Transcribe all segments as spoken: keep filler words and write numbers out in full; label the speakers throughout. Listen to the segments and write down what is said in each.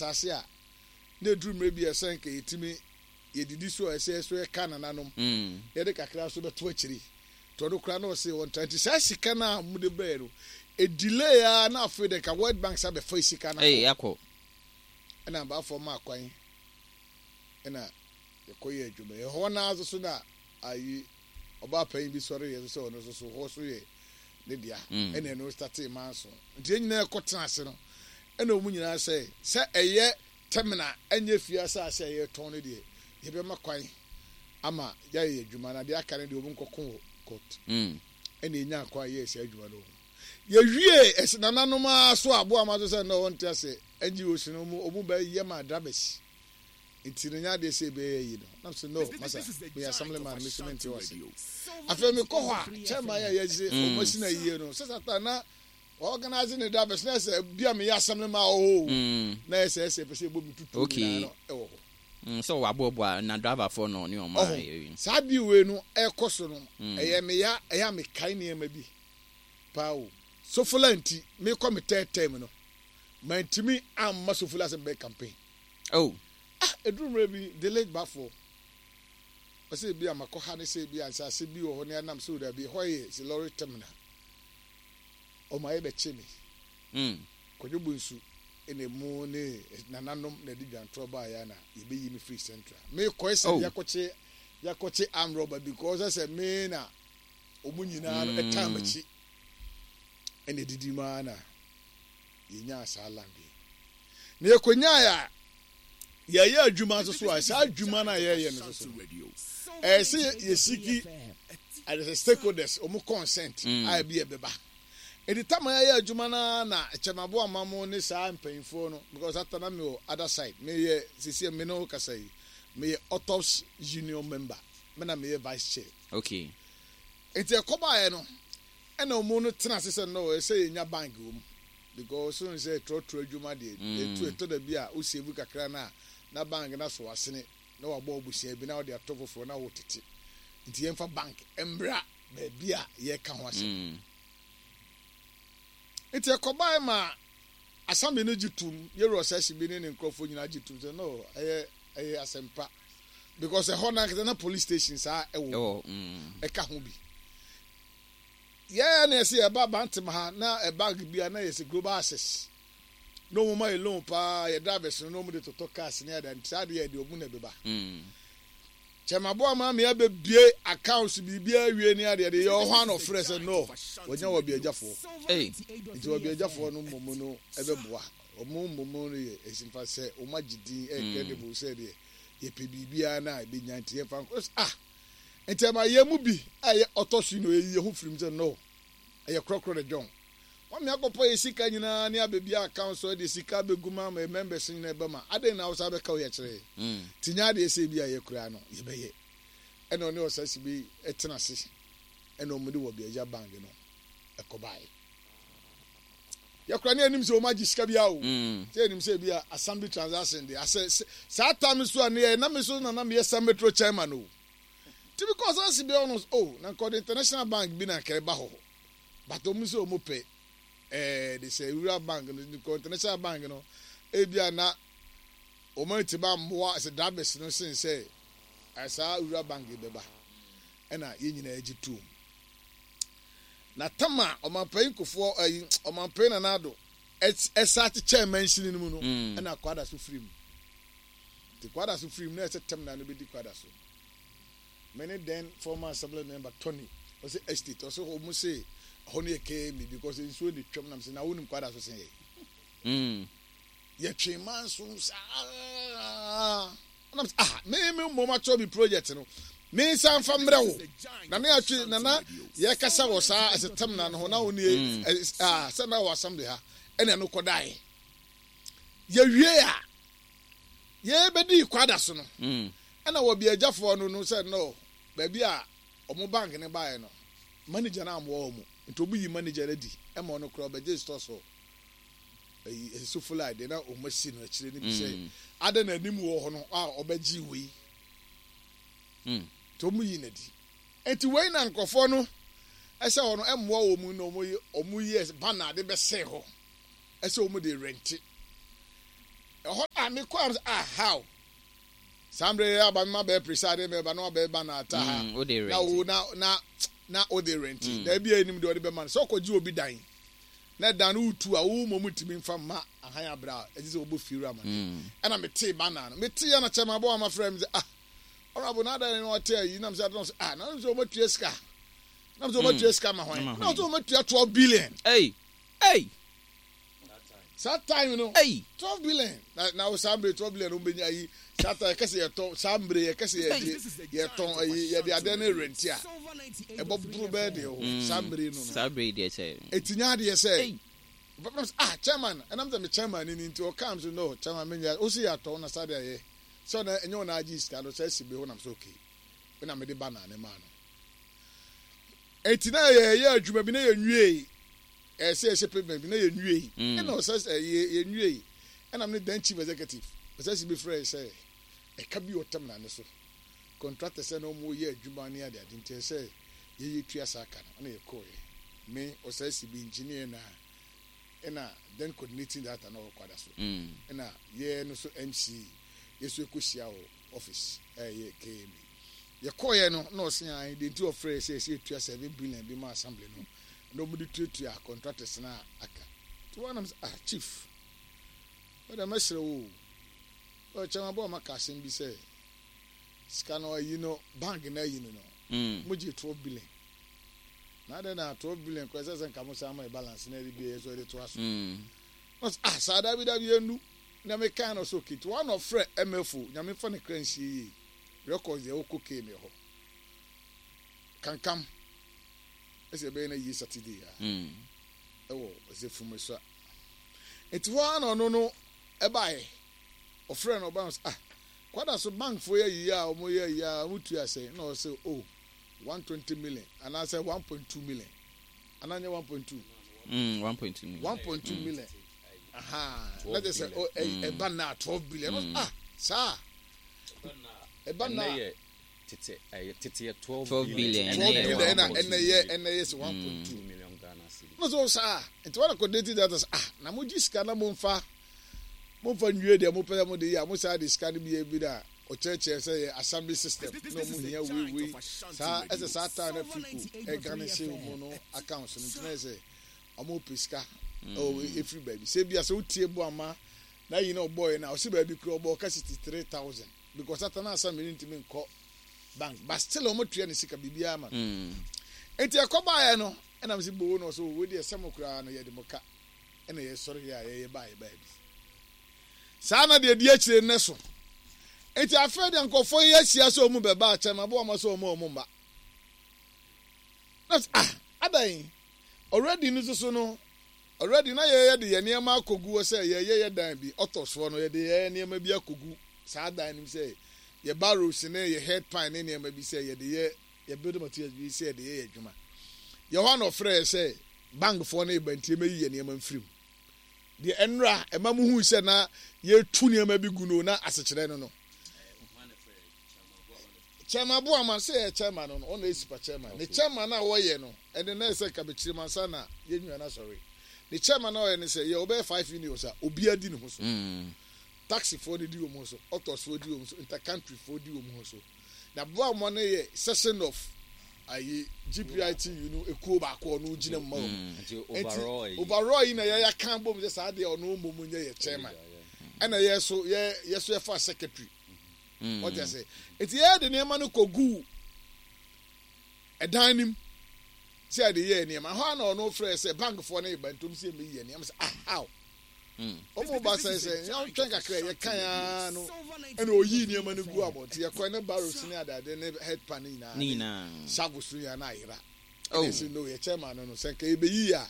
Speaker 1: Asase a na eduru mmerɛ bi a ɛsɛ nka yɛtumi yɛdidi so a, ɛsɛ so yɛka nananom,
Speaker 2: Mm.
Speaker 1: yɛde kakra so bɛto akyiri nti ɔno koraa na ɔse wɔntra. Nti saa sika no a mode brɛɛ no, ɛdelay a, na afei de nka World Bank sa bɛfa sika no.
Speaker 2: Ei, akɔ.
Speaker 1: Ɛna abaafoɔ maa kwan ɛna yɛkɔyɛ adwuma. Ɛhɔ naa nso so na ayi ɔbaa panyin bi sɔre yɛ so sɛ ɔno nso so hɔ so yɛ ne dea.
Speaker 2: Mm.
Speaker 1: Ɛna ɛno startee manso, nti yɛn nyinaa kɔ tena ase no, ɛna wɔn nyinaa sɛ sɛ ɛyɛ terminal, ɛnyɛ fie asase a yɛtɔn no deɛ, yɛbɛma kwan ama yɛayɛ adwuma, na deɛ aka no deɛ, wɔn nkɔko wɔ court.
Speaker 2: Mm.
Speaker 1: Ɛna enya kwan yɛɛ saa adwuma no. Yɛwie ɛsɛ nananom a so aboa ma so sɛ no wɔnte ase N G Os no ɔmu ɔmu bɛyɛ ma drivers, nti no nya adeɛ sɛ ɛbɛyɛ yi no nam sɛ no masa meyɛ assembly man, me so mente wɔ ase. Afei mekɔ hɔ a, chairman yɛ yɛgye ɔmo asi na yie no sɛ sata na organize ne drivers na sɛ bi a meyɛ assembly man wɔ hɔ o,
Speaker 2: Mm.
Speaker 1: na yɛ sɛ ɛsɛ pɛ sɛ ɛbɔ me tutu
Speaker 2: Okay.
Speaker 1: nyinaa no ɛwɔ hɔ.
Speaker 2: Mm, sɛ waboaboa na driverfoɔ no ne ɔma.
Speaker 1: Ɔho saa deal wei no ɛkɔ so no,
Speaker 2: Mm.
Speaker 1: ɛyɛ meya, ɛyɛ a mekae nneɛma bi paa o. Sofola nti mekɔ me third term no, mantumi amma Sofola sɛ mebɛyɛ campaign.
Speaker 2: Oh.
Speaker 1: Ah, ɛduru mmerɛ bi, the late Bafo ɔsɛ bi a makɔ ha ne sɛ bi a nsase bi wɔ hɔ ne anam sɛ odabi, hɔ yɛ sɛ lorry terminal, ɔma yɛ bɛkye me.
Speaker 2: Mm.
Speaker 1: Kwadwo Bonsu ɛna mu ne nananom na ɛde dwantorɔ baeɛ na yɛbɛyi me firi Central. Mekɔɛ sɛ
Speaker 2: Oh.
Speaker 1: yɛakɔkye yɛakɔkye armed robber, because sɛ me na ɔmu nyinaa no ɛtaa
Speaker 2: Mm.
Speaker 1: m'akyi, ɛna ɛdidi mu ara na yɛnyaa saa land yi na yɛkɔnyaeɛ a yɛyɛ adwuma nso so a, saa adwuma no a yɛyɛ no nso so no, ɛyɛ sɛ yɛseek ɛde sɛ stakeholders ɔmo consent
Speaker 2: Mm.
Speaker 1: a ebi ɛbɛba. Ɛdi tam a yɛyɛ adwuma no na kyɛmabo ama mo ne saa mpanyinfoɔ no, because ata na mi wɔ other side. Meyɛ sisi me ne wo kasa yi, meyɛ autops union member, me na meyɛ vice chair.
Speaker 2: Okay
Speaker 1: nti ɛkɔbaeɛ no, ɛna ɔmo no tena ase sɛ no, ɛsɛ yɛnya bank wɔ mu, because so sɛ trɔtrɔ adwuma deɛ,
Speaker 2: Mm.
Speaker 1: etu ɛtɔ da bi a wosave kakra na na bank na so asene na wabɔ abusua bi na wɔde ato foforɔ na wɔtete, nti yɛmfa bank mbra baabi a yɛka ho asɛm.
Speaker 2: Mm.
Speaker 1: Nti ɛkɔbaeɛ ma assembly no gye tum, yɛwura ɔsɛhye bi ne ne nkurɔfoɔ nyinaa gye tum sɛ no, ɛyɛ ɛyɛ asɛmpa, because ɛhɔ no ankasa na police station saa ɛwɔ
Speaker 2: ɛwɔ mm.
Speaker 1: ɛka ho bi. Yɛɛ na yɛsɛ yɛba Bantam ha na ɛ bank bi a na yɛsɛ Global Access na ɔmo ma yɛ loan paa, yɛ drivers no na ɔmo de totɔ cars ne ada, nti saa deɛ yɛde ɔmo na ɛbɛba.
Speaker 2: Mm.
Speaker 1: Kyɛmaboa maa mi abɛbie accounts, biribiara awie ne adeɛ de yɛ ɔhɔ ano, ɔfrɛ sɛ no, wɔnya wɔ bi agyafoɔ.
Speaker 2: Hey.
Speaker 1: Nti wɔ bi agyafoɔ no mmom no ɛbɛboa ɔmo mmom no yɛ esimfa sɛ ɔmo agye din, ɛyɛ credible sɛ deɛ yɛpɛ biribiara na ɛbɛnya, nti yɛmfa nkɔ. Ah, nti ɛma yɛn mu bi a ɛyɛ ɔtɔ so yi na ɔyɛ yɛn ho firim sɛ no, ɛyɛ korɔkorɔ de dwɔn wɔn mi akɔpɔ yɛ sika nyinaa ne abɛbi account so, ɛde sika abɛgu mu ama yɛ members nyinaa ɛbɛma adan na awosa abɛka wo yɛ kyerɛ.
Speaker 2: Mm.
Speaker 1: Ti nya adeɛ sɛ bi a yɛ kura no yɛbɛyɛ, ɛna ɔne ɔsɛsi bi ɛtena ase, ɛna ɔmo de wɔ bi agya bank no ɛkɔbaeɛ. Yɛkura ne anim sɛ ɔmo agye sika bi awo
Speaker 2: Mm.
Speaker 1: sɛ anim sɛ bi a assembly transaction de asɛ sɛ- saa time so a ne yɛ na me so na na meyɛ sɛ metro chairman o, ti bi kɔ ɔsɛsi bi ɔno o, na nkɔde international bank bi na nkɛ ba hɔ, but ɔmo sɛ ɔmo pɛ ɛɛ de sɛ rural bank no nkɔ international bank no, ebi a na ɔmo ti ba mmoa sɛ drivers no sen sɛ ɛsaa rural bank yi bɛba. Ɛna yɛn nyinaa gye tom na tama ɔmanpanyin Kofoɔ ɛyi ɔmanpanyin Nana Addo ɛsa kyekyɛ mansini no mu no,
Speaker 2: Mm.
Speaker 1: ɛna Kwada so firi mu, nti Kwada so firi mu na ɛsɛ tɛm na no bɛdi Kwada so. Me ne then former assembly member Tony, ɔsɛ estate, ɔsɛ ɔmo se ɛhɔ no yɛ kɛɛ because nsuo ne twam, nam sɛ na wonim Kwada so sen yɛ.
Speaker 2: Mm.
Speaker 1: Yɛtwe manso saa nam sɛ ah, me me mmom akyerɛ mi project no, me nsa nfa mmerɛ wo na ne atwe nana yɛkasa wɔ saa ɛsɛ tɛm na no ho na wo nie.
Speaker 2: Mm.
Speaker 1: ɛ ah, sɛ na wɔ assembly ha, ɛna ɛno kɔdaeɛ yɛwie a yɛbɛdi Kwada so no,
Speaker 2: Mm.
Speaker 1: ɛna wɔ bi agyafoɔ no no sɛ no, baabi a ɔmo bank ne baeɛ no, manager no amoa wɔ mu, nti ɔmo yi manager no adi ɛma ɔno koraa ɔbɛgye store so ɛyi ɛsofola deɛ na ɔmo asi no akyire no bi sɛ
Speaker 2: Mm.
Speaker 1: ada na anim wɔ hɔ no a ɔbɛgye wei.
Speaker 2: Mm.
Speaker 1: Nti ɔmo yi n'adi, nti wei na nkurɔfoɔ no ɛsɛ hɔ no ɛmmoa wɔ mu na ɔmo yi ɔmo yi banner de bɛsɛn hɔ ɛsɛ ɔmo de rent. Ɛhɔ a mekɔ am sɛ, ah, how saa mmerɛ yɛ aba mema bɛyɛ preside mɛba na wabɛyɛ ba na ata ha
Speaker 2: Mm, wode
Speaker 1: na
Speaker 2: rent.
Speaker 1: Wo na na na wode rent.
Speaker 2: Mm.
Speaker 1: Na ebi a enim deɛ ɔde bɛma no sɛ ɔkɔgye obi dan na dan no wotu a, wo mmom ntumi mfa mma ahan abere a ɛgye sɛ wɔbɔ fie wura ma no.
Speaker 2: Mm.
Speaker 1: Ɛna metee bana no, metee yɛ na kyɛ ma bɔ ama frɛ me sɛ, ah, ɔrabo na adan no ɔte ayi nam sɛ adan sɛ, ah, na sɛ ɔmatua sika nam sɛ ɔmatua sika ma hwan?
Speaker 2: Ma
Speaker 1: na
Speaker 2: hwan?
Speaker 1: ɔsɛ ɔmatua twelve billion.
Speaker 2: Hey, hey,
Speaker 1: Saa time no,
Speaker 2: hey.
Speaker 1: twelve billion na na saa mbere twelve billion no bɛnya ayi. Saa time yɛkɛsɛ yɛtɔn, saa mbere yɛkɛsɛ yɛgye yɛtɔn ayi, yɛde adeɛ no rent a, ɛbɔ boro bɛyɛ deɛ hɔ saa mbere no no
Speaker 2: Saa bere deɛ kyɛ.
Speaker 1: Eti nya adeɛ sɛ
Speaker 2: Hey.
Speaker 1: ɔbɛpam sɛ, ah, chairman, ɛnam sɛ me chairman ni ni nti ɔkaa m so, no chairman, menya o si yɛatɔn na saa de ayɛ sɛ ɔna ɛnyɛ ɔna agye sika no sɛ ɛsi bi hɔ nam sɛ okay, ɛna mede ba na ne maa no. Eti na yɛyɛ adwuma bi na yɛnwie, ɛsɛ yɛhyɛ pavement bi na yɛnwie.
Speaker 2: Mm.
Speaker 1: Ɛna ɔsɛ sɛ yɛ yɛnwie, ɛna me ne then chief executive ɔsɛ si bi frɛ sɛ ɛka bi ɔtɛm na ne so contractor sɛ na ɔmo yɛ adwuma ne ade ade, nti ɛsɛ yɛyɛ tua saa ka no. Ɛna yɛkɔɔyɛ, me ɔsɛ si bi engineer na ɛna then coordinating director na ɔwɔ kwada so.
Speaker 2: Mm.
Speaker 1: Ɛna yɛ no so M C yɛ so ɛkɔhyia wɔ office, ɛyɛ K M A. Yɛkɔɔyɛ no na ɔse an deɛ nti ɔfrɛ sɛ yɛsɛ yɛtua seven billion bi ma assembly no na ɔmode tuatua contractors no a aka. Nti wɔnam sɛ, ah, chief, wɔde mɛsrɛ wo o, ɔkyɛn abɔ ɔma ka asɛm bi sɛ sika no ayi no, bank no ayi no no
Speaker 2: Mm.
Speaker 1: mogye twelve billion na adɛn na twelve billion kɔ ɛsɛ sɛ nka mo san ma yɛ balance na ɛde bi yɛ so ɛde to aso.
Speaker 2: Mm.
Speaker 1: Ɔsɛ, ah, saa dabi dabi, yɛnu na meka no so okay. Nti wɔn na ɔfrɛ M F O, Nyame fa ne kra nsie yie, records deɛ wokɔ K M A hɔ kankam ɛsɛ ɛbɛyɛ no yie Saturday a
Speaker 2: Mm.
Speaker 1: ɛwɔ ɛsɛ fumesua. Nti hɔ ara na ɔno no ɛbaeɛ, ɔfrɛ no, ɔbaa no sɛ, ah, kwada so bankfoɔ yɛ yie a wɔn yɛ yie a wɔn tua sɛ, na ɔsɛ oh, one twenty million anaasɛ one point two million anaa nyɛ one point two.
Speaker 2: Mm. one point two million.
Speaker 1: one point two million aha, na kyerɛ sɛ oh, ɛ- ɛba na twelve billion. mm. ah saa ɛba na
Speaker 3: Ɛnɛ yɛ tete, ɛyɛ tete yɛ twelve
Speaker 2: twelve billion.
Speaker 1: twelve
Speaker 2: Ɛnɛ yɛ
Speaker 1: billion, ɛna
Speaker 2: one point two.
Speaker 1: ɛnɛ yɛ ɛnɛ yɛ sɛ one point two
Speaker 3: two million Ghana cedi.
Speaker 1: Na so saa nti wɔn akɔ data sɛ, ah, na mo gye sika na mo nfa mo nfa nwie deɛ mo pɛ sɛ mo de yɛ a, mo saa de sika no bi yɛ bi na ɔkyerɛkyerɛ sɛ yɛ assembly system na ɔmo hia wei wei saa, ɛsɛ saa time na Africo ɛga ne se ɔmo no accounts no, nti na yɛ sɛ ɔmo pɛ sika ɛwɔ efiri baabi sɛ bi a sɛ wotie bo ama na yi na ɔbɔ yɛ na ɔsi baabi kura ɔbɔ ɔka sixty three thousand because ata na assembly no ntumi nkɔ bank, but still ɔmo tua ne sika biribiara ma no.
Speaker 2: Mm.
Speaker 1: Nti ɛkɔ baeɛ no, ɛnam sɛ boo no ɔsɛ wo deɛ sɛ mo koraa no yɛde mo ka, ɛna yɛsɔre yɛ a yɛyɛ baeɛ baabi saa na deɛ di akyire nnɛ so. Nti afei deɛ nkɔfoɔ yi ahyia sɛ ɔmu bɛba akyɛm aboa ma sɛ ɔmu ɔmu mba na sɛ, ah, adan already no soso no already na yɛyɛ de yɛ nneɛma akɔgu hɔ sɛ yɛyɛ yɛ dan bi ɔtɔ soɔ no, yɛde yɛ nneɛma bi akɔgu saa dan no mu sɛ yɛ barrows ne yɛ head pan ne nneɛma bi sɛ yɛde yɛ yɛ building materials bi sɛ yɛde yɛ yɛ adwuma. Yɛ hɔ na ɔfrɛ yɛ sɛ bankfoɔ no yɛ ntie mɛyi yɛ nneɛma mfiri mu deɛ ɛnura ɛma mu hu sɛ na yɛtu nneɛma bi gu no na asekyerɛ no no chairman Boama sɛ yɛ chairman no no ɔna esi chairman ne chairman a wɔyɛ no, ɛne na ɛsɛ nka mansa na yɛn nua na sɔre ne chairman a ɔyɛ ne sɛ yɛ ɔbɛyɛ five unions a obiara di ne ho so.
Speaker 2: Mm.
Speaker 1: Taxifoɔ no di wɔn ho so, autosfoɔ di wɔn so, intercountryfoɔ di wɔn ho so, na Boama no yɛ section of ayi G P I T U no ekuo baako, ɔno gyina mu ma wɔn.
Speaker 3: Nti overall
Speaker 1: nti overall yi na yɛyɛ kan bom sɛ saa deɛ ɔno mmom nyɛ yɛ chairman, ɛna yɛ so yɛ yɛ so yɛfa secretary.
Speaker 2: Mm.
Speaker 1: Wɔte ase, nti yɛ de nneɛma no kɔ gu ɛdan nim sɛ yɛde yɛ nneɛma hɔ a, na ɔno frɛ sɛ bankfoɔ no yɛ bantom sɛ yɛmɛyi yɛ nneɛma sɛ, ah, how
Speaker 2: Mm.
Speaker 1: ɔmo ba sɛ sɛ yɛntwɛn kakra, yɛkan ara no ɛna oyii nneɛma no gu abɔnten. Yɛkɔ ne barrows ne adade ne head pan ne nyinaa
Speaker 2: Ne nyinaa.
Speaker 1: shovels no nyinaa na ayera.
Speaker 2: Oh.
Speaker 1: Ɛna ɛsɛ no yɛ chairman no no sɛ nka yɛbɛyi a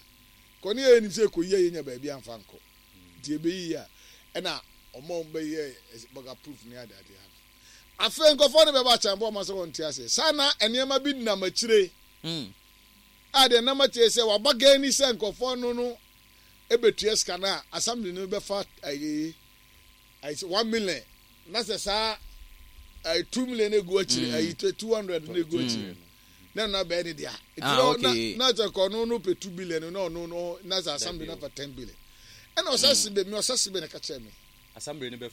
Speaker 1: kɔ ne yɛ nim sɛ ɛkɔyi a yɛnya baabi amfa nkɔ, nti yɛbɛyi a ɛna ɔmo a bɛyɛ burger proof ne adade ano. Afei nkɔfoɔ no bɛba akyɛn bɔ ɔmo sɛ wɔn te ase saa na nneɛma bi nam akyire
Speaker 2: Mm.
Speaker 1: a deɛ nam akyire sɛ waba gani sɛ nkɔfoɔ no no ebetua sika no a assembly no bɛfa ayi ayi sɛ one million na sɛ saa ayi two million egu akyire, ayi two hundred na egu akyire na ɛno abɛɛ ne dea. Nti
Speaker 2: Ah,
Speaker 1: na
Speaker 2: okay.
Speaker 1: na na sɛ kɔ ɔno no pɛ two billion na ɔno no na sɛ assembly no afa ten billion, ɛna ɔsɛ sibe mi ɔsɛ sibe na ka kyerɛ mi.
Speaker 3: Assembly no bɛfa.